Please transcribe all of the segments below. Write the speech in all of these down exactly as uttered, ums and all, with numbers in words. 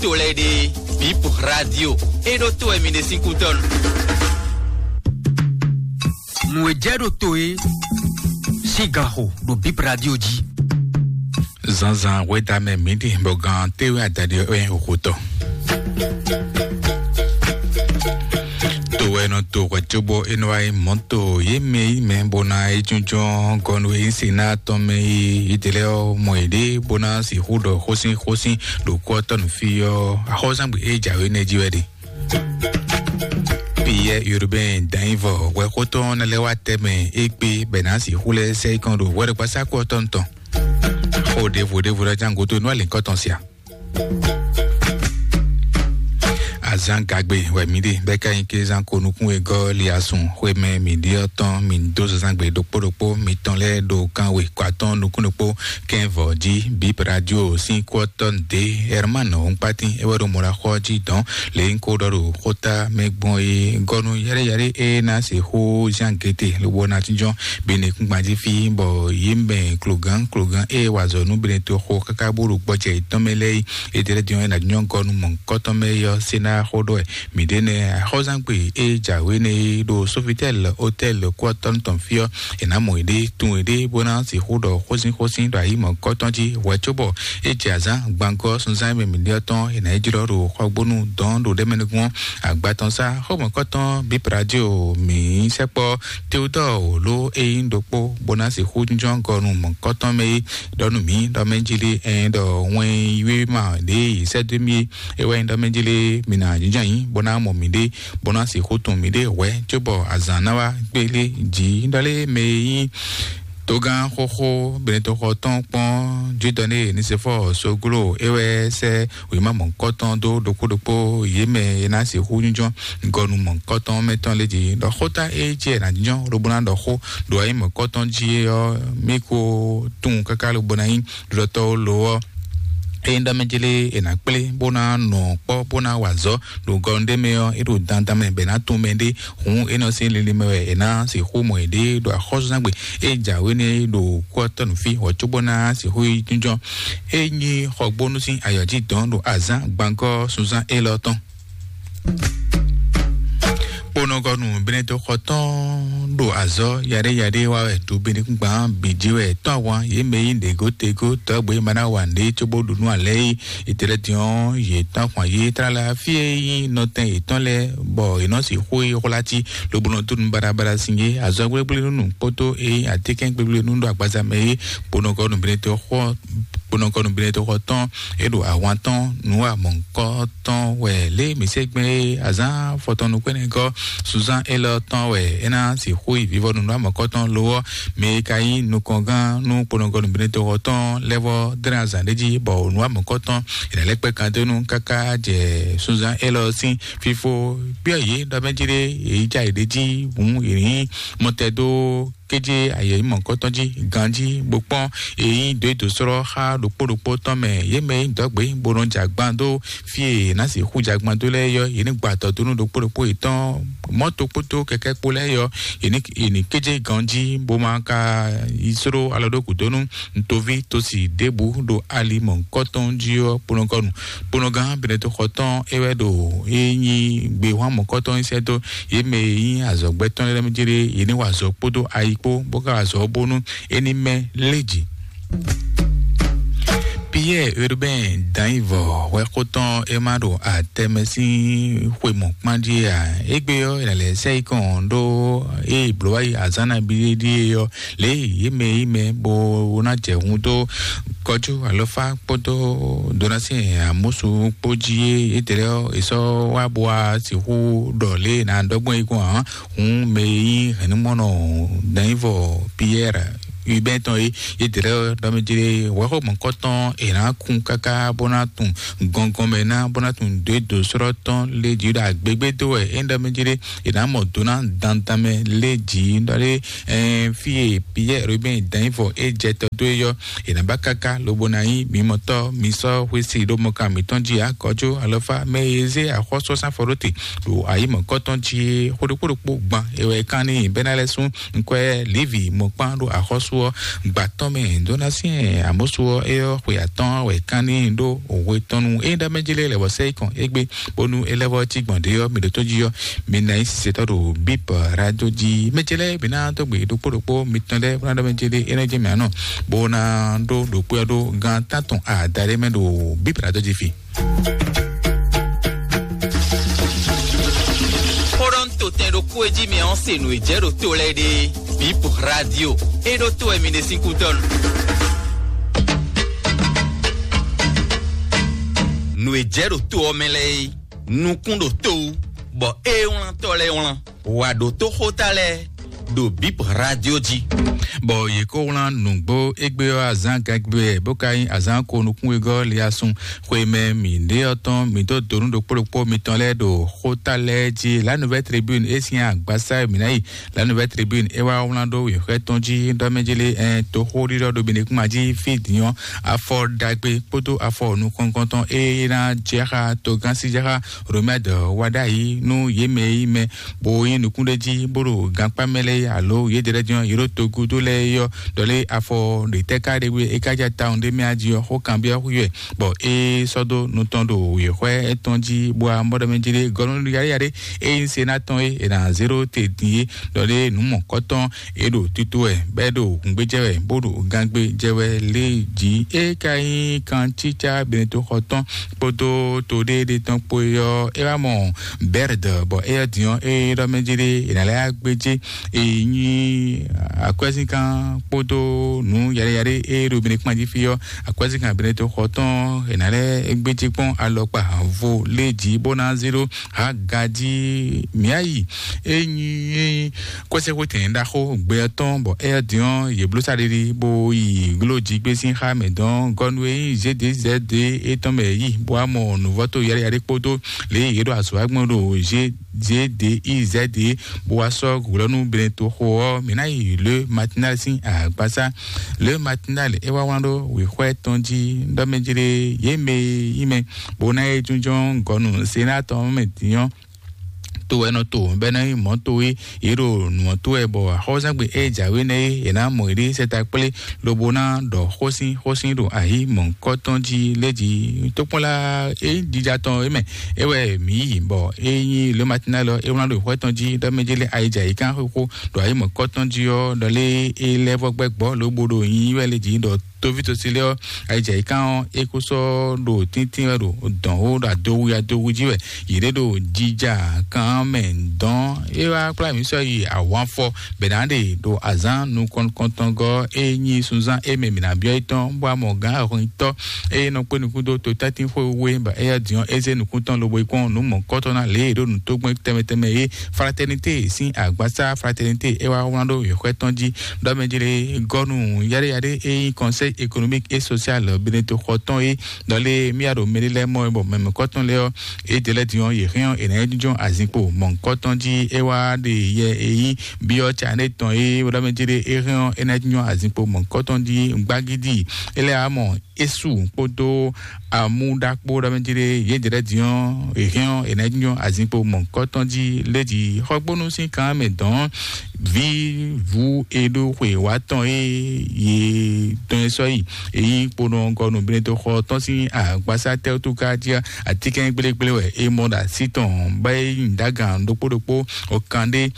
to lɛ́ɛ ɖe, Bip Radio, é ɖó to wɛ mi ɖe sín kútɔ́nu. Nǔ e jɛ ɖo to e sín gan xo ɖo Bip Radio jí. Zǎnzǎn hwedamɛ mǐ ɖi bɔ gan téwé adaɖi ɔ́ wɛ nyí xotɔ. To wɛ nɔ to hwɛ cóbɔ é nɔ wá nyí mɔ̌to yě mɛ yí mɛ bó ná é jínjɔ́n gɔnu e nyí Senáa tɔn mɛ e yědɛɛ lɛ́ɛ ɔ́ mɔ yěɖée bó ná sixú ɖɔ xósín xósín ɖo kú ɔ́ tɔ́ nú fí ɔ́, axɔ́súzángbe e jǎwe nɛ́ jí wɛ ɖe. Piyɛ́ɛ Urbain Danyivɔ hwɛxótɔn ná lɛ́ wá tɛmɛ égbé bɛ ná sixú lɛ́ sɛ́ yi kɔn ɖo hwɛɖokpásákú ɔ́ tɔn tɔn. Xó ɖěvo ɖěvo ɖɔ ján gúdo nú alǐkɔ́tɔn sia. Azán gagbe wɛ mǐ ɖe bɛ́ ká nyí kézán ko nukún e gɔ́ li asun xwé mɛ mǐ ɖe ɔ́ tɔn mǐ dó zazán gbe ɖokpó ɖokpó mitɔn lɛ́ɛ ɖo kan we kɔ atɔ́ɔ́n nukún ɖokpó kɛ́n vɔ̌ jí. Bip Radio sín kú ɔ́ tɔ́ nǔɖé Herman Hɔnkpátín é wɛ ɖo mɔ̌ɖaxɔ jí dɔn lě nyí ko ɖɔ ɖo xóta mɛ gbɔn é gɔ́ nú yɛɖéyɛɖé é ná sixú zán géte lobo ná jínjɔ́n Benekúngban jí fí bɔ yě mɛ klogán klogán é wa azɔ̌ nú Benetoxo káká bó ɖo gbɔjɛ yětɔn mɛ lɛ́ɛ é. Étɛ́ lɛ́ɛ din ɔ́, é ná nyɔ́ gɔ́ nú mɔ̌hunkɔtɔn mɛ é ɔ́, Senáa xó ɖɔ wɛ mǐ ɖe nɛ́ axɔ́zán gbe e jǎwe nɛ́ é ɖo Sofitel Hotel kú ɔ́ tɔ́ tɔn fí ɔ́, è nǎ mɔ yěɖée, tunwun yěɖée bó ná sixú ɖɔ xósínxósín ɖo ayǐ mɔ̌hunkɔtɔn jí hwɛ cóbɔ é jɛ azǎn gbangɔ́ sunzán e mɛ mǐ ɖe ɔ́ tɔn è nǎ yi jlɔ́ ɖo xɔgbónú dɔn ɖo ɖɛ́ mɛ nukún ɔ́. Agbatɔnsá xɔmɔ̌kɔtɔn Bip Radio mǐ sɛkpɔ́ Teodɔ́ɔ wǒ ló é nyí ɖokpó bó ná sixú jínjɔ́n gɔ́ nú mɔ̌hunkɔtɔn mɛ é ɖɔ nú mǐ ɖɔ mɛ jí lé ɛn ɖɔ wɛn yíwé ma ɖě yi sɛ́ dó mì é. É wɛ nyí ɖɔ mɛ jí lé mǐ ná jínjɔ́n ayǐ bó ná mɔ mǐɖée bó ná sixú tunwun mǐɖée hwɛ̌ cóbɔ azǎn ná wá gbélé jǐ ɖɔ lé mɛ e nyí togán xóxó Benetoxɔ tɔn kpɔ́n Judɔ́ ní Nisefɔ́ɔ Soglo é wɛ sɛ́ wěma mɔ̌hunkɔtɔn dó ɖokpó ɖokpó yě mɛ e ná sixú jínjɔ́n gɔnu mɔ̌hunkɔtɔn mɛ tɔn lɛ́ɛ jí ɖɔ xóta e jí è nǎ jínjɔ́n lobo ná ɖɔ xó ɖo ayǐ mɔ̌hunkɔtɔn jí é ɔ́, mí ko tunwun káká lobo ná nyí ɖiɖɔtɔ́ lo ɔ́. Ényí ɖɔ mɛ jlé è nǎ kplé bó ná nɔ kpɔ́ bó ná wa azɔ̌ ɖo gɔnu ɖé mɛ ɔ́, é ɖo dandan mɛ bɔ è nǎ tunwun mɛɖé. Hǔn é nɔ sín linlin mɛ wɛ è nǎ sixú mɔ yěɖée ɖo axɔ́súzángbe e jǎwe nɛ́ ɖo kú ɔ́ tɔ́ nǔ fí hɔ̌ cóbó ná sixú yi jínjɔ́n. É nyí xɔgbónú sín ayɔ̌ jí dɔn ɖo azǎn gbangɔ́ sunzán élɔ́ tɔn. Kponɔgɔnu Benetoxɔ tɔn ɖo azɔ̌ yaɖéyaɖé wa wɛ ɖo Benekúngban bǐ jí wɛ tɔ́ ahwan yě mɛ yí ɖěgótegó tɔ́gbé ma ná wa nǔɖé cóbó ɖu nú alɛ yí. Itɛlɛdiɔn yě tɔ́ ahwan yě tlala fí e nyí nɔtɛn yětɔn lɛ́ɛ bɔ yě nɔ sixú yi xwlá cí lobo nɔ dó nú baɖabaɖa sin yé azɔ̌ gblégblé nú nǔ kpódó e nyí atínkɛn gblégblé nú ɖo agbaza mɛ yé. Kponɔgɔnu Benetoxɔ kponɔgɔnu Benetoxɔ tɔn é ɖo ahwan tɔn nǔ amɔ̌kɔ tɔn wɛ lě mǐ se gbɛn é azǎn fɔtɔn nukpɛ́nɛgɔ́ Suzán élɔ́ tɔn wɛ é ná sixú yi vivɔnu nú amɔ̌kɔ tɔn lo ɔ́, mɛ e ka nyí nukɔngán nú kponɔgɔnu Benetoxɔ tɔn lɛ́ vɔ́ dlɛ́n azǎn ɖé jí bɔ nǔ amɔ̌kɔ tɔn è nǎ lɛ́ kpɛ́ kan dó nú káká jɛ Suzán élɔ́ sín fífó gbé ɔ́ yě ɖɔ mɛ jí ɖé yě yi já yě ɖé jí hǔn yě nyí mɔtɛdó kéjé ayɛyímɔ kɔ́tɔn jí ganjí bó kpɔ́n èyí dó dǒ slɔ́ xá ɖokpó ɖokpó tɔn mɛ yě mɛ nyí dɔ̌gbé bó nɔ jɛ agban dó fí e è nǎ sixú jɛ agban dó lɛ́ɛ yɔ yě ní gba tɔ dó nú ɖokpó ɖokpó yětɔn mɔ̌to kpódó kɛkɛ́ kpó lɛ́ɛ yɔ yě ní yě ní kéjé ganjí bó ma ka yi sló alɔ ɖó gǔdo nú ntoví tosi ɖěbǔ ɖo ali mɔ̌hunkɔtɔn jí ɔ́ kponɔgɔnu. Kponɔgán Benetoxɔ tɔn é wɛ ɖo é nyí gbehwan mɔ̌kɔtɔn yi sɛ́ dó yě mɛ e nyí azɔ̌gbɛ́tɔ́ lɛ́ɛ mɛ jéré yě ní wa azɔ̌ kpódó ayi kpó bó ka wa azɔ̌ bónú é ní mɛ lé jǐ. Piyɛ́ɛ Urbain Danyivɔ hwɛxó tɔn é má ɖo atɛmɛ sín xwe mɔ̌kpán jí ǎ. Égbé ɔ́, è nǎ lɛ́ sɛ́ yi kɔn ɖó ée blǒ wá yi azǎn nabí ɖíe ɔ́, lě e yě mɛ yí mɛ bó ná jɛ hun dó kɔjú alɔfá kpódó donasi amúsu kpó jí é yětɛ́ lɛ́ɛ ɔ́, è sɔ́ wá bó wá sixú ɖɔ lě e è nǎ ɖɔ gbɔn é gbɔn ǎ. Hǔn mɛ e nyí hɛ̌nnumɔnɔ Danyivɔ Piyɛ́ɛ Urbain tɔn é, yětɛ́ lɛ́ɛ ɔ́, ɖɔ mɛ jlé wɛ̌xɔ́ mɔ̌kɔtɔn è nǎ kún káká bó ná tunwun gɔngɔn mɛ ná bó ná tunwun dó é dǒ slɔ́ tɔn lé jǐ ɖo agbégbé dó wɛ é ɖɔ mɛ jlé è nǎ mɔ dó ná dandan mɛ lé jǐ ɖɔ lé. Ɛɛ, fí e Piyɛ́ɛ Urbain Danyivɔ é jɛ tɔ dó é yɔ, è nǎ ba káká lobo ná nyí mimɔtɔ́ mi sɔ́ xwé si ɖó mɔkan mǐtɔn jí akɔjú alɔfá mɛ e zé axɔ́sú ɔ́ sín afɔ ɖó te ɖo ayǐ mɔ̌kɔtɔn jí é xó ɖokpó ɖokpó gban è wɛ é kán n'i bɛ́ ná lɛ́ sú nkwɛ́ Livi mɔkpán ɖo axɔ́sú ɔ́, gbǎtɔ́ mɛ dó ná syɛ́n Amɔ̌su ɔ́, é ɔ́, xwe atɔ́ɔ́n wɛ kán n'i ɖó hwe tɔn nu. Ényí ɖɔ mɛ jlé lɛ̌ bɔ sɛ yi kɔn égbé, bónú é lɛ́ vɔ cí gbɔn ɖě ɔ́, mi ɖo tó jí ɔ́, mi ná nyí sisetɔ́ ɖo Bíp Radio jí. Mɛ ce lɛ́ɛ bǐ ná dó gbe ɖokpó ɖokpó mitɔn lɛ́ɛ bó ná ɖɔ mɛ jlé é nɔ jɛ mɛ anɔ, bó ná ɖó ɖokpó ɔ́ ɖó gán tántɔn adaɖé mɛ ɖo Bíp Radio jí fi. Xó ɖɔ un to tɛn ɖokpó e jí mi ɔ́ se nǔ e jɛ ɖo to lɛ́ɛ ɖe. Bip Radio e ɖó to wɛ mi ɖe sín kútɔ́ nu. Nǔ e jɛ ɖo to ɔ́ mɛ lɛ́ɛ é, nukún ɖo to wú, bɔ ée wlán tɔ́ lɛ́ɛ wlán. Wǎ ɖó tó xóta lɛ́ɛ ɖo Bip Radio jí. Bɔ yě kó wlán nǔgbó égbé ɔ́ azǎn gɛgbɛ, bó ka nyí azǎn ko nukún wegɔ́ liasun. Xwemɛ mǐ ɖe ɔ́ tɔn, mǐ dó donu ɖokpó ɖokpó mitɔn lɛ́ɛ ɖo xóta lɛ́ɛ jí. La Nouvelle Tribune é sín agbasa e mǐ ná yi. La Nouvelle Tribune é wá wlán ɖó wěxwɛ́ tɔn jí ɖɔ mɛ jí lé ɛn toxó ɖiɖɔ ɖo Benekuma jí fí din ɔ́, afɔ ɖagbe kpódó afɔ nukɔntɔn e ná jɛ xá togán sí jɛ xá Romɛd wá ɖ'ayǐ nú yě mɛ e nyí mɛ bó nyí nukúnɖéjí bó ɖo gankpá mɛ lɛ́ɛ alo yědɛ́ lɛ́ɛ din ɔ́, yě ɖo togúdo lɛ́ɛ é ɔ́, ɖɔ lé afɔ ɖě tɛ́ ká ɖe wé é ká ja tawun ɖé mɛ a jí ɔ́, xó kanbyɔ́ xú yɛ, bɔ é sɔ́ dó nu tɔn ɖo wěxwɛ́ étɔn jí, bó wá mɔ ɖɔ mɛ jí ɖé gɔ́nú yaɖé yaɖé é nyí se ná tɔn é, è nǎ zé ɖó te din é, ɖɔ lé nǔ mɔ̌kɔtɔn é ɖo tito wɛ, bɔ é ɖo hǔngbéjɛ wɛ, bó ɖo gangbéjɛ wɛ lé jí. É ka nyí kancícá Benetoxɔ tɔn kpódó toɖéɖé tɔn kpó é ɔ́, é wá mɔ Bɛrd, bɔ éyɛ́ din ɔ́, é ɖɔ mɛ jí ɖé, è nǎ lɛ́ wá gbéjé. È nyí akwɛ́zínkan kpódó nǔ yaɖéyaɖé e ɖo Benekpán jí fí ɔ́, akwɛ́zínkan Benetoxɔ tɔn è nǎ lɛ́ gbéjé kpɔ́n alɔkpa vo lé jí bó ná zé ɖó Hagaji mǐ yi. É nyí kɔ́sɛ́xwétɛn ɖaxó gbɛ ɔ́ tɔn, bɔ éyɛ́ din ɔ́, yě bló saɖiɖi bó yi gló jí gbé sín xá mɛ dɔn gɔ́nú e nyí Zédezɛ́de étɔn mɛ yi, bó wá mɔ nǔvɔ́tó yaɖéyaɖé kpódó lě e yě ɖo azɔ̌ wa gbɔn ɖo Zédeizɛ́de, bó wá sɔ́ glɔ́ nú Benetoxo ɔ́, mǐ ná yi Le Matinal sín agbasá. Le Matinal é wá wlán ɖó wěxwɛ́ tɔn jí ɖɔ mɛ jí ɖé, yě mɛ e nyí mɛ bó ná yi jínjɔ́n gɔ́nú Senáa tɔn mɛ din ɔ́, to wɛ nɔ to bɔ é ná nyí mɔ̌ towe, yě ɖo nǔ ɔ́ to wɛ, bɔ axɔ́súzángbe e jǎwe nɛ́ é, è nǎ mɔ yě ɖe sɛ́ta kplé, lobo ná ɖɔ xósin xósin ɖo ayǐ mɔ̌hunkɔtɔn jí lé jí. Tókpɔ́nla e nyí jija tɔn é mɛ é wɛ mǐ yi, bɔ é nyí Le Matinal ɔ́, é wlán ɖo xwɛ tɔn jí ɖɔ mɛ jí lé ayǐjǎyíkan xóxó ɖo ayǐ mɔ̌hunkɔtɔn jí ɔ́, ɖɔ lé é lɛ́ vɔ gbɛ́ gbɔ́ lobo ɖo nyi wɛ lé jí ɖɔ tóví tosí lɛ́ɛ ɔ́, ayǐjǎyíkan ɔ́, é kó sɔ́ ɖo tíntín wɛ ɖo dɔ̌n xó ɖo adowu adowu jí wɛ. Yě ɖe ɖo jija kan mɛ dɔn. É wá kplá mǐ sɔ́ yi ahwanfɔ bɛ̌ ná ɖe ɖo azǎn nukɔntɔngɔ́ e nyí sunzán e mɛ mǐ ná byɔ́ é tɔn, bó wá mɔ gǎn ahɔnyitɔ́ e nɔ kpé nukún dó totɛ́ntin xwe wé, bɔ éyɛ́ din ɔ́, é zé nukún tɔn lobo yi kpɔ́n nǔ mɔ̌kɔtɔn ná lě e ɖo nǔtógbɛ́n tɛnmɛ tɛnmɛ e Fraternité sín agbasá Fraternité é wá wlán ɖó yěxwɛ́ tɔn jí ɖɔ mɛ jlé gɔ́nu yaɖéyaɖé e nyí Conseil économique et social Benetoxɔ tɔn é, ɖɔ lé mía ɖo mɛ ɖé lɛ́ɛ mɔ é, bɔ mɛ mɔ̌kɔtɔn lɛ́ɛ ɔ́, é ɖe lɛ́ɛ din ɔ́, yě hɛn ɔ́, è nǎ jínjɔ́n azinkpo mɔ̌kɔtɔn jí é wá ɖe yɛ e nyí byɔ́ ca nɛ́ tɔn é ɖɔ mɛ jlé é hɛn ɔ́, é ná jínjɔ́n azinkpo mɔ̌kɔtɔn jí gbagídí. É lɛ́ wá mɔ Esu kpódó amúɖakpó ɖɔ mɛ jí ɖé yě jɛ ɖɛ́ din ɔ́, è hɛn ɔ́, è nǎ nyɔ azinkpo mɔ̌hunkɔtɔn jí lé jí xɔgbónú sín kan mɛ dɔn vǐ vú e ɖó xwe wǎ tɔn e yě tɔn e sɔ́ yi. Èyí kponɔ gɔnu Benetoxɔ tɔn sín agbasa tɛ́wútú ká jí atínkɛn gblégblé wɛ é mɔ ɖo así tɔn bɔ é nyi dǎgan ɖokpó ɖokpó ɔkan ɖé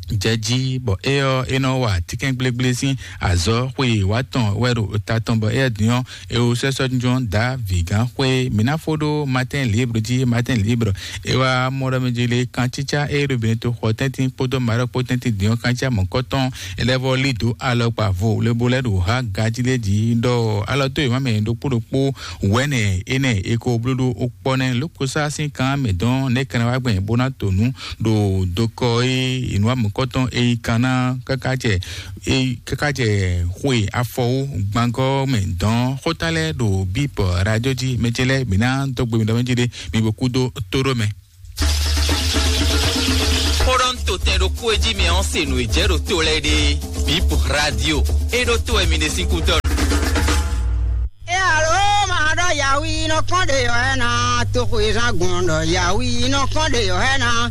jɛ jí, bɔ é ɔ́, é nɔ wa tínkɛ́ngblégblésin azɔ̌ xwe wá tɔn wɛ ɖo ta tɔn, bɔ éyɛ́ din ɔ́, é wú sɛ́ sɔ́ jínjɔ́n dǎ vǐgán xwé. Mǐ ná fó ɖó Matin Libre jí. Matin Libre é wá mɔ ɖɔ mɛ jí lé kan cícá é ɖo Benetoxɔ tɛ́ntin kpódó Marɔ́ kpó tɛ́ntin din ɔ́ kan cí amɔ̌kɔ́tɔn. É lɛ́ vɔ lí dǒ alɔkpa vo lebo lɛ́ ɖo há gají lé jí ɖɔ alɔ dó yě má mɛ ɖokpó ɖokpó wɛ̌nɛ énɛ́ è ko bló ɖó kpɔ́ nɛ́ lókosá sín kan mɛ dɔn nɛ́ kɛnɛ wá gbɛn bó ná to nǔ ɖo dokɔ e inú amɔ̌kɔtɔn e yi kan ná káká jɛ e káká jɛ xwe afɔwó gbangɔ mɛ dɔn xóta lɛ́ɛ ɖo bíp radio jí mɛ ce lɛ́ɛ mǐ ná dó gbe mi ɖɔ mɛ jí ɖé mi bo kú dó tó ɖó mɛ. Xó ɖɔ un to tɛn ɖokpó e jí mi ɔ́ se nǔ e jɛ ɖo to lɛ́ɛ ɖe bíp radio e ɖó to wɛ mi ɖe sín kú dɔn. E alo ma ɖɔ yawi nɔ kɔn ɖe yɔ ɛ na, toxo e zan gbɔn ɖɔ yawi nɔ kɔn ɖe yɔ ɛ na.